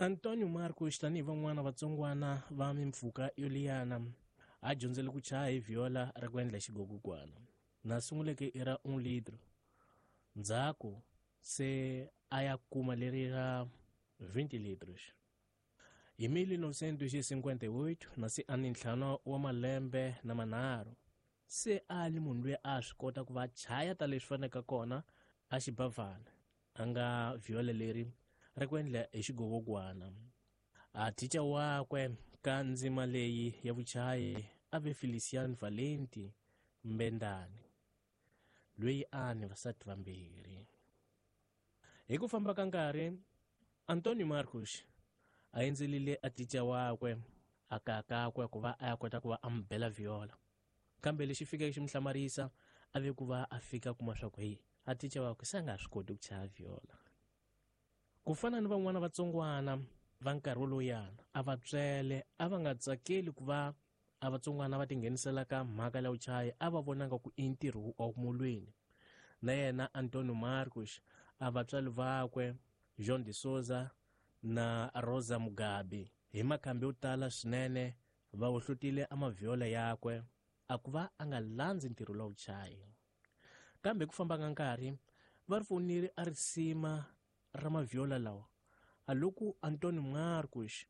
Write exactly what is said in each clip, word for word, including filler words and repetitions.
Antônio Marcos tanihi van'wana vatsongwana va mimpfhuka yo liyana a dyondzele ku chaya hi viola ra ku endla xigogogwana na sunguleke i ra un litro ndzhaku se a ya kuma leri ra vinte litros. Hi mil novecentos e cinquenta e oito na se a ni ntlhanu wa malembe na manharhu se a li munhu loyi a swi kota ku va chaya ta leswi faneleke kona a xibavhana a nga viola leri ra ku endla hi xigogogwana. A thicha wakwe ka ndzima leyi ya vuchayi a ve Feliciano Valenti Mbendani loyi a ni vasati vambirhi. Hi ku famba ka nkarhi Antônio Marcos a endzelile a thicha wakwe a kaya kakwe ku va a ya kota ku va a mi bela viola, kambe lexi fikeke xi mi hlamarisa a ve ku va a fika kuma swa ku heyi a thicha wakwe se a nga ha swi koti ku chaya viola. Ku fana ni van'wana vatsongwana va nkarhi wolowuyana a va tswele a va nga tsakeli ku va a vatsongwana va tinghenisela ka mhaka ya vuchayi a va vonanga ku i ntirho wa mulweni. Na yena Antônio Marcos a vatswari vakwe João de Souza na Rosa Mugabe hi makhambi yo tala swinene va wohlotile a maviola yakwe a ku va a nga landzi ntirho lowu vuchayi. Kambe ku famba ka nkarhi va ri fonile a risima ra maviola lawa a loko Antônio Marcos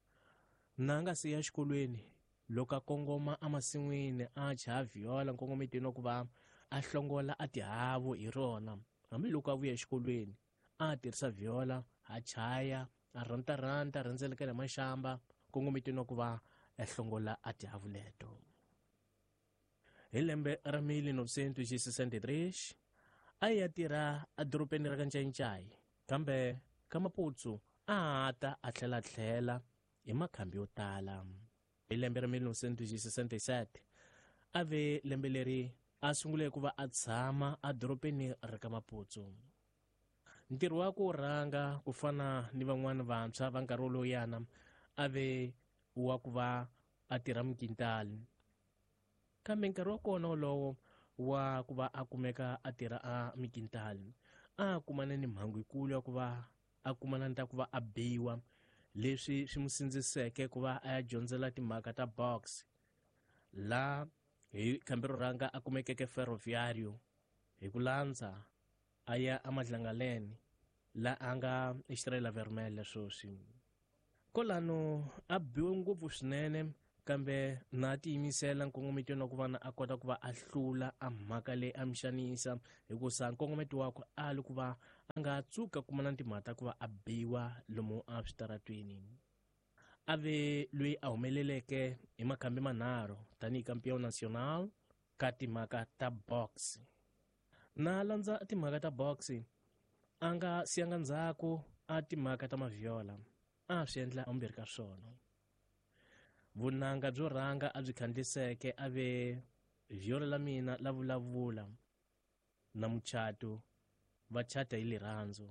na nga se ya xikolweni loko a kongoma emasin'wini a chaya viola nkongometweni wa ku va a hlongola a tihavu hi rona hambiloko a vuya exikolweni a tirhisa viola a chaya a rantaranta rhendzelekela maxamba nkongometweni wa ku va a hlongola a tihavu leto. Hi lembe ra mil novecentos e sessenta e três a ya tirha edorobeni ra ka Ncayincai kambe ka Maputo a ta a tlhela tlhela hi makhambi yo tala. Hi lembe ra mil novecentos e sessenta e sete a ve lembe leri a sungule ku va a tshama edorobeni ra ka Maputo. Ntirho wa ku rhanga ku fana ni van'wana vantshwa va nkarhi wolowuyana a ve wa ku va a tirha mikintali, kambe nkarhi wa kona wolowo wa ku va a kumeka a tirha a mikintali a kumana ni mhangu yikulu ya ku va a kumana ni ta ku va a biwa, leswi swi n'wi sindziseke ku va a ya dyondzela timhaka ta box la hi khambi ro rhanga a kumekeke Ferroviário hi ku landza a ya eMadlangaleni la a nga Estrela Vermelha sweswi. Kolano a biwe ngopfu swinene kambe na tiyimisela nkongometweni wa ku va na a kota ku va a hlula a mhaka leyi a mi xanisa hikusa nkongometo wakwe a li ku va a nga tsuka kuma na timhaka ta ku va a biwa lomu a switaratweni. A ve loyi a humeleleke hi makhambi manharhu tanihi campeão nacional ka timhaka ta box. Na landza timhaka ta box a nga siyanga ndzhaku a timhaka ta maviola a swi endla ambirhi ka swona. Vunanga byo rhanga a byi khandliseke a ve viola la mina la vulavula na muchato va chata hi lirhandzu.